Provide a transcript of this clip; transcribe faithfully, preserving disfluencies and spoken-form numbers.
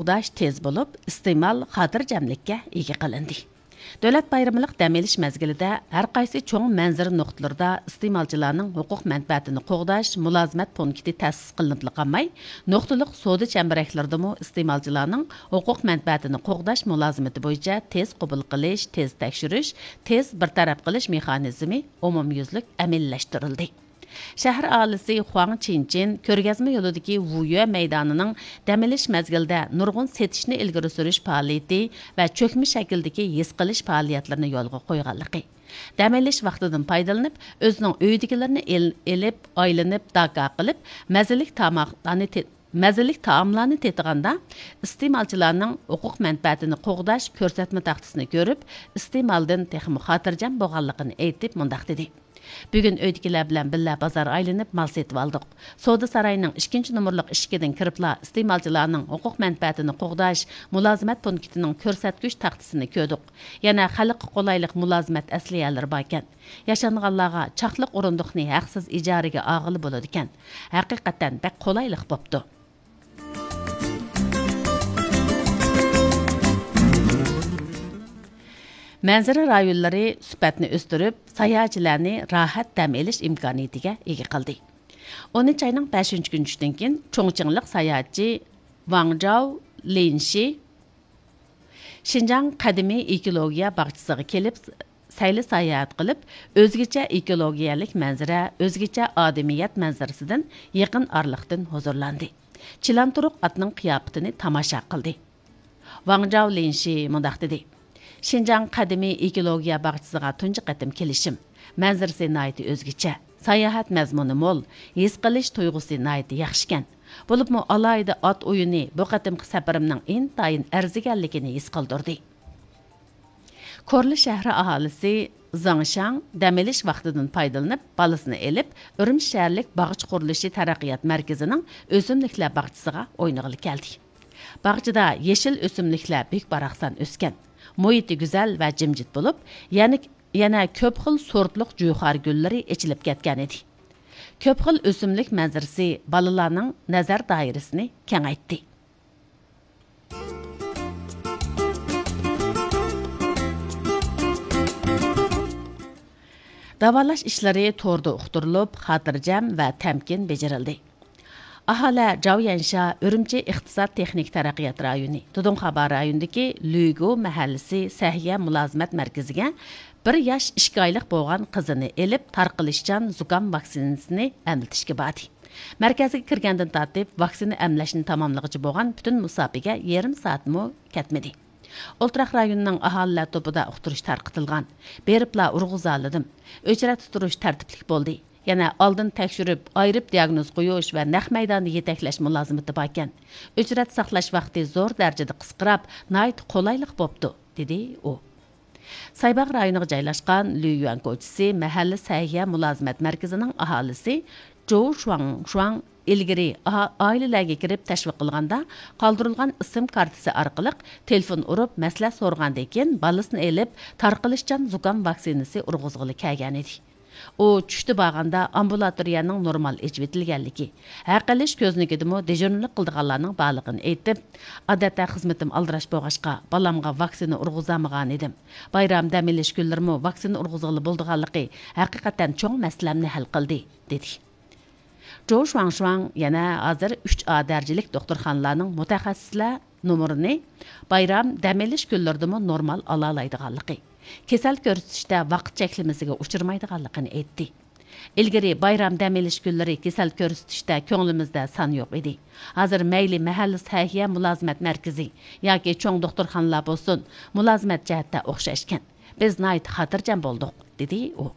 ئۇداش تېز بولۇپ، ئىستېمال خاتىرجەملىككە ئىگە قىلىندى. دۆلەت بايرىملىق دەم ئېلىش مەزگىلىدە ھەر قايسى چوڭ مەنزىرە نۇقتىلىرىدا ئىستېمالچىلارنىڭ ھوقۇق مەنپەئەتىنى قوغداش مۇلازىمەت پونكىتى تەسىس قىلىنىپلا قالماي، نۇقتىلىق سودا چەمبىرەكلىرىدىمۇ ئىستېمالچىلارنىڭ ھوقۇق مەنپەئەتىنى قوغداش مۇلازىمىتى بويىچە تېز قوبۇل قىلىش، تېز تەكشۈرۈش، تېز بىر تەرەپ قىلىش مېخانىزمى ئومۇميۈزلۈك ئەمەلىيلەشتۈرۈلدى. شەھەر ئاھالىسى خۇاڭ چىنچىن كۆرگەزمە يولىدىكى ۋۇيۈە مەيدانىنىڭ دەم ئېلىش مەزگىلىدە نۇرغۇن سېتىشنى ئىلگىرى سۈرۈش پائالىيىتى ۋە چۆكمە شەكىلدىكى ھېس قىلىش پائالىيەتلىرىنى يولغا قويغانلىقى، دەم ئېلىش ۋاقتىدىن پايدىلىنىپ، ئۆزىنىڭ ئۆيىدىكىلىرىنى ئېل-، ئېلىپ، ئايلىنىپ، داكا قىلىپ، مەززىلىك تاماقلارنى تې-، مەززىلىك تائاملارنى تېتىغاندا، ئىستېمالچىلارنىڭ ھوقۇق مەنپەئەتىنى قوغداش كۆرسەتمە تاختىسىنى كۆرۈپ، ئىستېمالدىن تېخىمۇ خاتىرجەم بولغانلىقىنى ئېيتىپ، مۇنداق دېدى. بۈگۈن ئۆيدىكىلەر بىلەن بىللە بازار ئايلىنىپ مال سېتىۋالدۇق. سودا سارايىنىڭ ئىككىنچى نومۇرلۇق ئىشىكىدىن كىرىپلا ئىستېمالچىلارنىڭ ھوقۇق مەنپەئەتىنى قوغداش مۇلازىمەت پونكىتىنىڭ كۆرسەتكۈچ تاختىسىنى كۆردۇق. يەنە خەلققە قولايلىق مۇلازىمەت ئەسلىھەلىرى باركەن. ياشانغانلارغا چاقلىق ئورۇندۇقنى ھەقسىز ئىجارىگە ئالغىلى بولىدىكەن. ھەقىقەتەن بەك قولايلىق بوپتۇ. مەنزىرە رايونلىرى سۈپەتنى ئۆستۈرۈپ، ساياھەتچىلەرنى راھەت دەم ئېلىش ئىمكانىيىتىگە ئىگە قىلدى. ئونىنچى ئاينىڭ بەشىنچى كۈنى چۈشتىن كېيىن، چۇڭچىڭلىق ساياھەتچى ۋاڭ جاۋ لىنشى شىنجاڭ قەدىمىي ئېكولوگىيە باغچىسىغا كېلىپ، سەيلە ساياھەت قىلىپ، ئۆزگىچە ئېكولوگىيەلىك مەنزىرە، ئۆزگىچە ئادىمىيەت مەنزىرىسىدىن يېقىن ئارىلىقتىن ھۇزۇرلاندى. چىلانتۇرۇق ئاتنىڭ قىياپىتىنى تاماشا قىلدى. ۋاڭ جاۋ لىنشى مۇنداق دېدى: شىنجاڭ قەدىمىي ئېكولوگىيە باغچىسىغا تۇنجى قېتىم كېلىشىم. مەنزىرىسى ناھايىتى ئۆزگىچە، ساياھەت مەزمۇنى مول، ھېس قىلىش تۇيغۇسى ناھايىتى ياخشىكەن. بولۇپمۇ ئالاھىدە ئات ئويۇنى بۇ قېتىمقى سەپىرىمنىڭ ئىنتايىن ئەرزىگەنلىكىنى ھېس قىلدۇردى. كورلا شەھىرى ئاھالىسى زېڭ شاڭ دەم ئېلىش ۋاقتىدىن پايدىلىنىپ، بالىسىنى ئېلىپ، ئۈرۈمچى شەھەرلىك باغچە قۇرۇلۇشى تەرەققىيات مەركىزىنىڭ ئۆسۈملۈكلەر باغچىسىغا ئوينىغىلى كەلدى. باغچىدا يېشىل ئۆسۈملۈكلەر بۈك-باراقسان ئۆسكەن. مۇھىتى گۈزەل ۋە جىمجىت بولۇپ، يەنە، يەنە كۆپ خىل سورتلۇق جۇيخار گۈللىرى ئېچىلىپ كەتكەن ئىدى. كۆپ خىل ئۆسۈملۈك مەنزىرىسى بالىلارنىڭ نەزەر دائىرىسىنى كېڭەيتتى. داۋالاش ئىشلىرى توردا ئۇقتۇرۇلۇپ، خاتىرجەم ۋە تەمكىن بېجىرىلدى. ئاھالە جاۋ يەنشا ئۈرۈمچى ئىقتىساد تېخنىكا تەرەققىيات رايونى، دۇدۇڭخابا رايونىدىكى لۈگۇ مەھەللىسى سەھىيە مۇلازىمەت مەركىزىگە بىر ياش ئىككى ئايلىق بولغان قىزىنى ئېلىپ، تارقىلىشچان زۇكام ۋاكسىنىسىنى ئەملىتىشكە باردى. مەركەزگە كىرگەندىن تارتىپ، ۋاكسىنا ئەملەشنى تاماملىغۇچە بولغان پۈتۈن مۇساپىگە يېرىم سائەتمۇ كەتمىدى. ئولتۇراق رايونىنىڭ ئاھالىلەر توپىدا ئۇقتۇرۇش تارقىتىلغان. بېرىپلا ئۇرغۇزالىدىم. ئۆچرەتتە تۇرۇش تەرتىپلىك بولدى. يەنە ئالدىن تەكشۈرۈپ، ئايرىپ دىياگنوز قويۇش ۋە نەق مەيداندا يېتەكلەش مۇلازىمىتى باركەن. ئۆچرەت ساقلاش ۋاقتى زور دەرىجىدە قىسقىراپ، ناھايىتى قولايلىق بوپتۇ، دېدى ئۇ. سايباغ رايونىغا جايلاشقان لۈيۈەن كوچىسى مەھەللە سەھىيە مۇلازىمەت مەركىزىنىڭ ئاھالىسى جوۋ شۇاڭ شۇاڭ ئىلگىرى ئا-، ئائىلىلەرگە كىرىپ تەشۋىق قىلغاندا، قالدۇرۇلغان ئىسىم كارتىسى ئارقىلىق تېلېفون ئۇرۇپ مەسلىھەت سورىغاندىن كېيىن، بالىسىنى ئېلىپ تارقىلىشچان زۇكام ۋاكسىنىسى ئۇرغۇزغىلى كەلگەنىدى. ئۇ چۈشتە بارغاندا ئامبۇلاتورىيەنىڭ نورمال ئېچىۋېتىلگەنلىكى، ھەق ئېلىش كۆزنىكىدىمۇ دېژۇرنىلىق قىلىدىغانلارنىڭ بارلىقىنى ئېيتىپ، ئادەتتە خىزمىتىم ئالدىراش بولغاچقا، بالامغا ۋاكسىنا ئۇرغۇزالمىغانىدىم. بايرام دەم ئېلىش كۈنلىرىمۇ ۋاكسىنا ئۇرغۇزغىلى بولىدىغانلىقى ھەقىقەتەن چوڭ مەسىلەمنى ھەل قىلدى، دېدى. جوۋ شۇاڭشۇاڭ يەنە ھازىر ئۈچ ئا دەرىجىلىك دوختۇرخانىلارنىڭ مۇتەخەسسىسلەر نومۇرىنى بايرام دەم ئېلىش كۈنلىرىدىمۇ نورمال ئالالايدىغانلىقى، كېسەل كۆرسىتىشتە ۋاقىت چەكلىمىسىگە ئۇچرىمايدىغانلىقىنى ئېيتتى. ئىلگىرى بايرام دەم ئېلىش كۈنلىرى كېسەل كۆرسىتىشتە كۆڭلىمىزدە سان يوق ئىدى. ھازىر مەيلى مەھەللە سەھىيە مۇلازىمەت مەركىزى ياكى چوڭ دوختۇرخانىلار بولسۇن، مۇلازىمەت جەھەتتە ئوخشاشكەن. بىز ناھايىتى خاتىرجەم بولدۇق، دېدى ئۇ.